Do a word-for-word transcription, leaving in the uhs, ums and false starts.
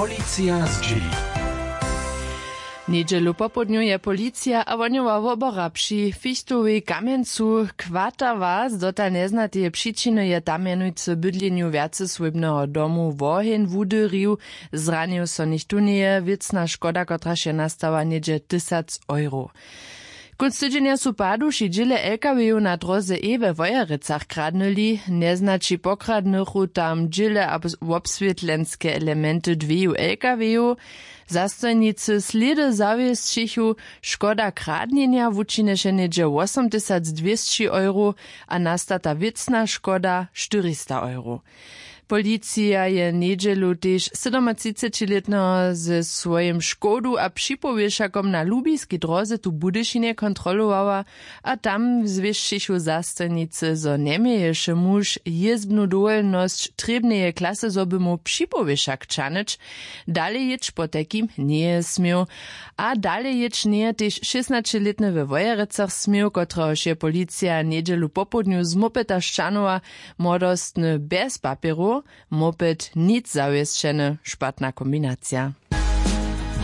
Policija zdźěli. Njedźelu popołdnju je policija a wohnjowa wobora při fichtowej kamjencu kwatała z dotal njeznateje přičiny je tam mjenujcy w bydlenju wjacesłójbneho domu woheń wudyrił. Zranił so nichtó njeje. Wěcna škoda kotraž je nastała něhdźe tysac euro. Kónc tydźenja su paduši dźěle lkw-jow na dróze e we wojerecach kradnyli. Njeznaći pokradnychu tam dźěle a wobswětlenske elementy dweju lkw-jow. Zastojnicy slědy zawěsćichu. Škoda kradnjenja wučinješe něhdźe wosomtysacdwěsći euro a nastata wěcna škoda štyrista euro. Policija je njedźelu tež sydomatřicećilětneho ze swojim škodu a připowěšakom na lubiskej dróze tu w budyšinje kontrolowała. A tam zwěsćichu zastojnicy zo njeměješe muž jězbnu dowolnosć trěbneje klasy zo by móhł připowěšak ćahnyć. Dalej jěć potajkim njeje směł. A dalej jěć njeje tež šěsnaćelětny we wojerecach směł kotrehož je policija njedźelu popołdnju z mopeta šćahnowa. Młodostny bjez papjerow, moped nic zawěsćeny. Špatna kombinacija.